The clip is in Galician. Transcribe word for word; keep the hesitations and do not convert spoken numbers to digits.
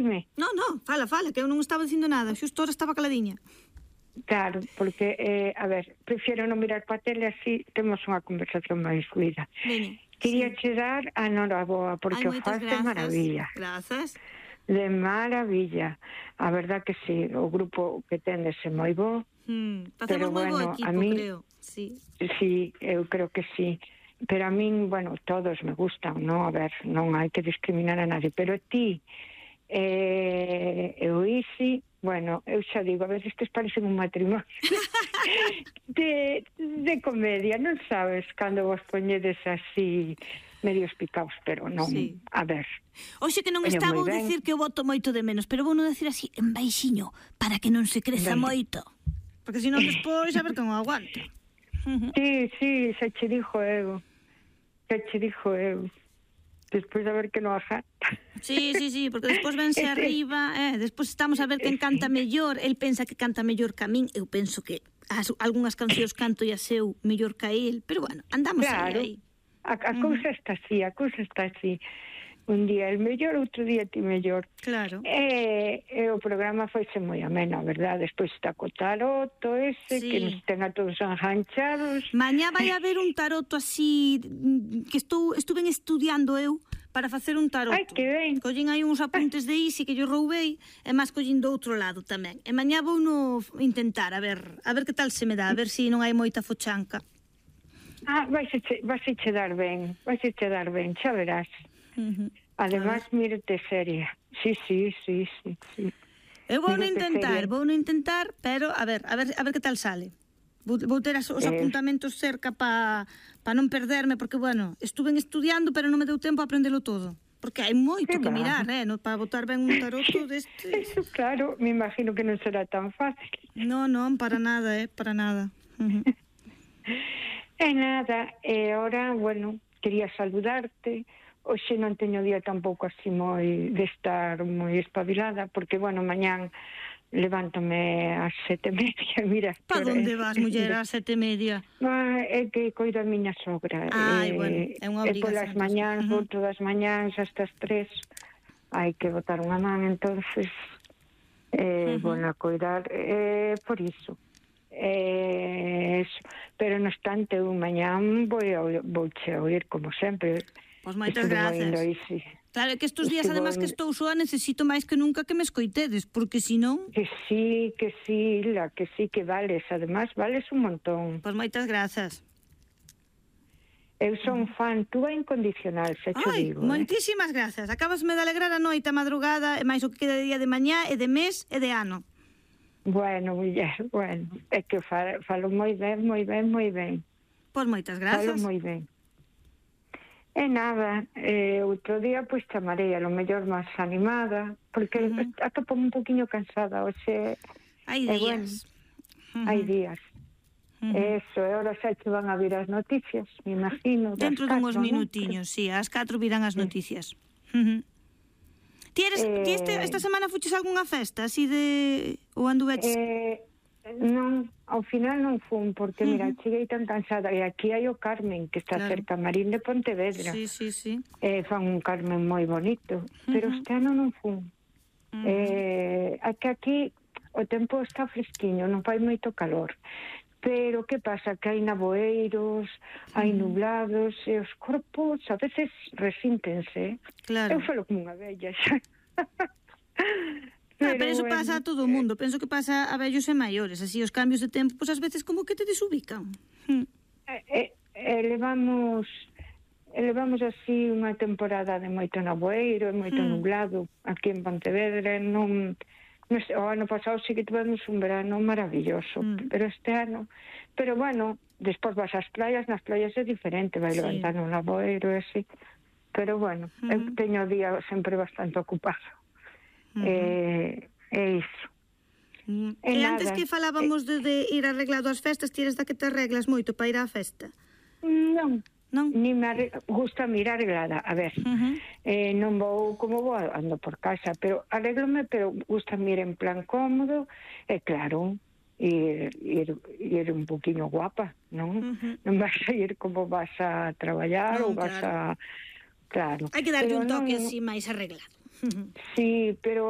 Me. No, no, fala, fala, que eu non estaba dicindo nada, xusto ahora estaba caladiña. Claro, porque, eh, a ver, prefiero non mirar pa tele, así temos unha conversación máis fluida. Veña, Quería sí. che dar a Noraboa, porque Ai, o moitas faz de grazas. maravilla. Grazas. De maravilla. A verdad que sí, o grupo que tendes é moi bo. Mm, pero facemos moi bo bueno, equipo, a mí, creo. Sí. Sí, eu creo que sí. Pero a min, bueno, todos me gustan, non? A ver, non hai que discriminar a nadie. Pero ti, eh, eu Isi, bueno, eu xa digo, a veces que parecen un matrimonio de, de comedia, non sabes, cando vos poñedes así medios picaos, pero non, Sí. a ver. Oxe, que non Oye, está moi vou ben. dicir que o boto moito de menos, pero vou non decir así en baixiño, para que non se creza Ben. moito. Porque senón despois a ver que non aguanta. Sí, sí, xa che dixo eu. Xa che dixo eu. Despois a ver que non aguanta. Sí, sí, sí, porque despois vense Ese- arriba, eh, despois estamos a ver quen canta mellor, el pensa que canta mellor que a min, eu penso que as, algunhas cancións canto e a seu mellor que a el, pero bueno, andamos Claro. aí, aí. A, a cousa está así, a cousa está así. Un día el mellor, outro día ti mellor. Claro. E, e o programa foise moi ameno, a verdade. Despois está co taroto ese, Sí. que nos ten a todos enganchados. Mañá vai haber un taroto así mm, que estou estuven estudiando eu para facer un taroto. Ai, que ben. Collín aí uns apuntes de Isi que yo roubei e máis collín do outro lado tamén. E mañá vou no intentar, a ver, a ver que tal se me dá, a ver se si non hai moita fochanca. Ah, vais a che, vais a che dar ben, vais a che dar ben, xa verás. Uh-huh. Además, mírate seria. Sí, sí, sí, sí, sí. Eu vou no Mírate intentar, seria. vou no intentar, pero a ver, a ver, a ver que tal sale. Vou, vou ter as, os Eh. apuntamentos cerca para pa non perderme, porque, bueno, estuven estudiando, pero non me deu tempo a aprendelo todo. Porque hai moito Que que va. mirar, eh, no, para botar ben un taroto destes. Eso, claro, me imagino que non será tan fácil. No, non, para nada, eh, para nada. Uh-huh. E nada, e ahora, bueno, quería saludarte. Hoxe non teño día tampouco así moi de estar moi espabilada, porque, bueno, mañán levántome ás sete e media, mira. Pa que hora onde é. vas, muller, ás sete e media? Ah, é que coido a miña sogra. Ai, eh, bueno, é unha E polas obrigación, mañáns, entón. vou todas as mañáns hasta as tres, hai que botar unha man, entonces, eh, Ujú. bueno, a coidar, eh, por iso. Eh, eso. Pero no obstante, un mañán vou a, vou che a oír como sempre. Pois moitas Estuve grazas. oindo aí, sí. Claro, é que estes días, Estivo además, que en- estou soa, necesito máis que nunca que me escoitedes, porque senón... Que sí, que sí, la que sí que vales, además vales un montón. Pois moitas grazas. Eu son fan túa incondicional, se cho Ai, digo. eh. moitísimas grazas. Acabasme de alegrar a noite, a madrugada, e máis o que queda de día de mañá, e de mes, e de ano. Bueno, muller, bueno, é que falo, falo moi ben, moi ben, moi ben. Pois moitas Falo grazas. moi ben. E nada, eh, outro día pois chamarei a lo mellor máis animada, porque Ujú. atopo un poquinho cansada, hoxe Hai eh, bueno, días. hai días. Ujú. Eso, e ahora xa che van a vir as noticias, me imagino. das Dentro dunhos catro, non? minutiños, sí, ás catro virán as noticias. Ujú. Ti eres, ti este, Eh, esta semana fuches a algunha festa, así de... ou anduveches... Eh, non, ao final non fun, porque, mira, Ujú. cheguei tan cansada, e aquí hai o Carmen, que está Claro. cerca, Marín de Pontevedra. Sí, sí, sí. Eh, fan un Carmen moi bonito, pero Ujú. este ano non fun. Ujú. Eh, é que aquí o tempo está fresquiño, non fai moito calor. Pero que pasa? Que hai navoeiros, hai nublados, e os corpos a veces resíntense. Claro. Eu falo como unha vella xa. Ah, pero eso bueno, pasa a todo o mundo. Penso que pasa a vellos e maiores. Así, os cambios de tempo, pois ás veces como que te desubican. Hm. Eh, eh, eh, levamos levamos así unha temporada de moito navoeiro e moito Mm. nublado aquí en Pontevedra. Non, non sei, o ano pasado sí que tivemos un verano maravilloso, Mm. pero este ano, pero bueno, despois vas ás playas, nas playas é diferente, vai Sí. levantar un navoeiro e así, pero bueno, Mm. eu teño o día sempre bastante ocupado. Ujú. eh, é iso. Mm. E E antes nada, que falábamos de, de ir arreglado ás festas, ti eres da que te arreglas moito para ir á festa, Non, non? ni me arre- gusta mirar arreglada. A ver, Ujú. eh, non vou como vou, ando por casa, pero arreglome, pero gusta ir en plan cómodo, e claro, ir, ir, ir un poquinho guapa, non? Ujú. Non vas a ir como vas a traballar, Non, ou vas claro. a... Claro. Hai que darlle Pero un toque non- así máis arreglado. Ujú. Sí, pero